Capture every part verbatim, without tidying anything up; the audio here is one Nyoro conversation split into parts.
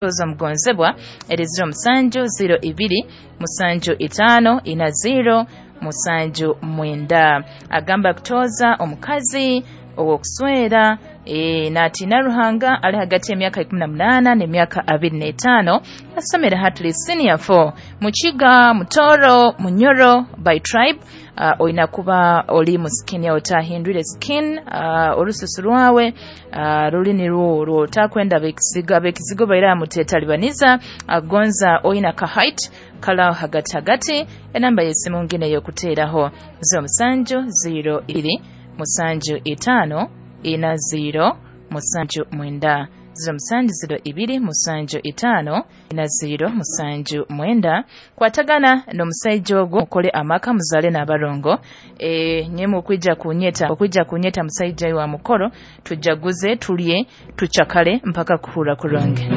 Kutoza mugonzebwa eri ziro musanju ziro ibiri musanju itano ina ziro musanju mwenda. Agamba kutoza omukazi ow'okuswera e, n'atiina Ruhanga, ali hagati y'emyaka ikumi na munaana n'emyaka abiri n'etaano, asomera Hatley Senior four, Mukiga, Mutoro, Munyoro by tribe. Uh, olina kuba oli mu skin yawe otahindwire skin, uh, olususu lwawe uh, luli nirwo lwotakwenda bekizigo bekizigo baira mutetalibaniza agonza oyina ka height kala hagati hagati. Enamba y'essimu ngine ey'okuteeraho ziro musanju ziro ibiri musanju itaano ina ziro musanju mwenda, ziro musanju ziro ibiri musanju itaano ina ziro musanju mwenda. Kwatagana n'omusaija ogwo mukole amaka muzale n'abarongo. E, nyemu okwija kunyeta okwija kunyeta musaija wa mukoro, tujaguze tulye tuchakale mpaka kuhura kurungi.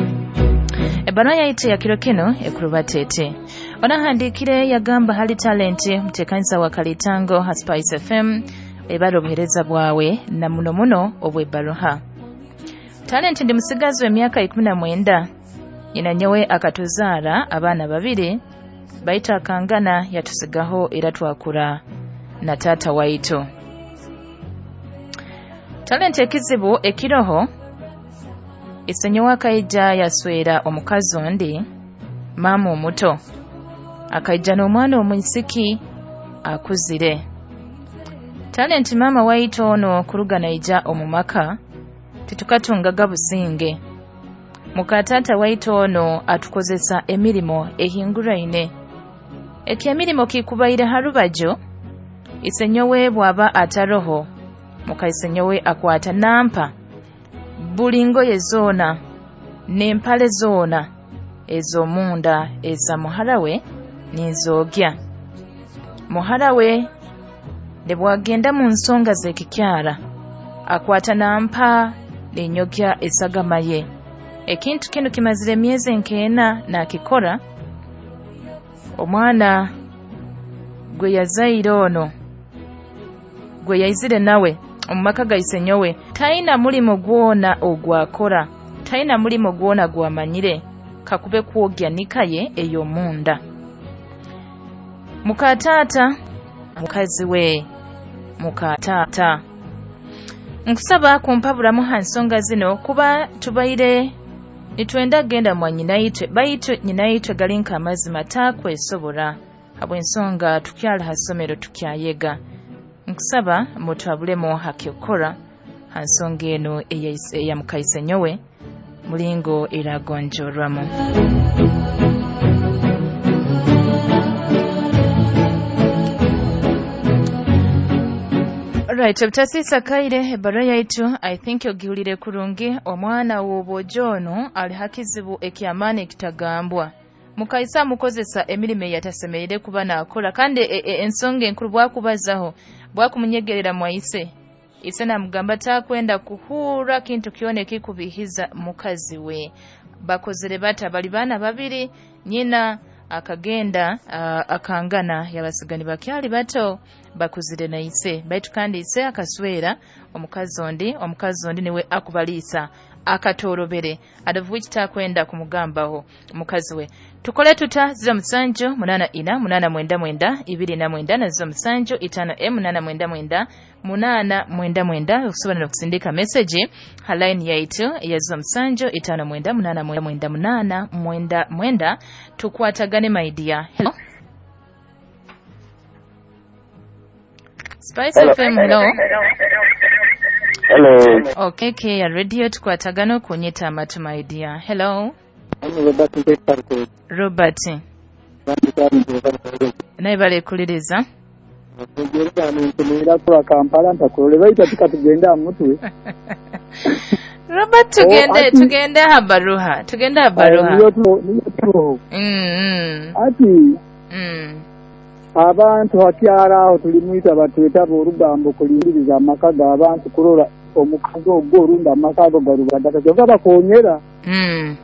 Ebbarua yaitu ya kiro kino ekurubatete onahandikire yagamba hali talenti mutekanisa wa Kalitango ha Spice F M ebara obuhereza bwawe na muno muno obw'ebbaruha. Talenti ndi musigazi w'emyaka ikumi na mwenda, nyina nyowe akatuzaara abaana babiri, baitu akangana yatusigaho era twakura na taata waitu. Talenti ekizibu ekiroho isenyowe akaija yaswera omukazi ondi, maama omuto, akaija n'omwana omwisiki akuzire. Talenti maama waitu ono kuruga naija omu maka titukatungaga businge. Muka taata waitu ono atukozesa emirimo ehinguraine. Ekyemirimo kikubaire harubajo, isenyowe bwaba ataroho, muka isenyowe akwata nampa buli ngoye zoona n'empale zoona ez'omunda eza muhara we ninzogya. Muhara we ne bwagenda mu nsonga z'ekikyara akwata nampa ninyogya esagama ye. Ekintu kinu kimazire emyezi nkeena nakikora. Omwana gwe yazaire ono gwe yaizire nawe omu maka ga isenyowe taina mulimo gwona ogwakora, taina mulimo gwona gwamanyire kakube kwogya nikaye ey'omunda. Muka taata mukazi we muka taata nkusaba kumpaburamu ha nsonga zino, kuba tubaire nitwenda genda mwa nyinaitwe, baitu nyinaitwe galinka amazima takwesobora habw'ensonga tukyali ha ssomero tukyayega. Nkusaba mutwabulemu hakyokora ha nsonga eno eya mukaisenyowe mulingo eragonjorwamu. Right, obutasisa kaire ebbarua yaitu I think ogihulire kurungi. Omwana w'obwojo ono ali hakizibu ekyamaani ekitagambwa. Mukaisa amukozesa emirimo eyatasemereire kuba naakora, kandi e, e, ensonga enkuru bwakubazaho bwakumunyegerera mwaise ise namugamba takwenda kuhura kintu kyona ekikubihiza mukazi we. Bakozere bata bali baana babiri, nyina akagenda uh, akangana yabasigani bakyali bato bakuzire na ise, baitu kandi ise akaswera omukazi ondi, omukazi ondi niwe akubaliisa akatorobere adavu takwenda kumugambaho mukazi we. Tukole tuta ziro musanju munana ina munana mwenda mwenda ibiri na mwenda na ziro musanju itano e munana mwenda mwenda munana mwenda mwenda. Okusobola n'okusindika message ha line yaitu ya ziro musanju itano mwenda munana mwenda mwenda munana mwenda mwenda. Tukwatagane my dear. Hello Spice Hello. F M, hello. Hello. Okay, K ya radio tukwatagana okunyita amatu my dear. Hello. Robert. Robert. Naye balekuliriza. Robert tugende tugende habaruha. Tugende habaruha. Mm. Ati mm. Abantu hakyara aho tulimwita batweta orugambo kulindiriza amaka g'abantu kurora omukazi ogwo orunda amaka ago garubadaka kyonka bakonyera. Mm.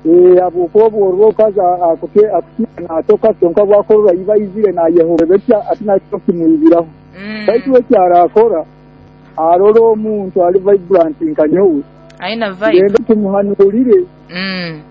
Eh abukobo orwokaza akute akutina atoka kyonka bwakorora iba izire na Yehova betya atina kyo kimwibiraho. Mm. Baitu ekyara akora arora omuntu ali vibrant nka nyowe. Aina vibe. Genda tumuhanurire. Mm.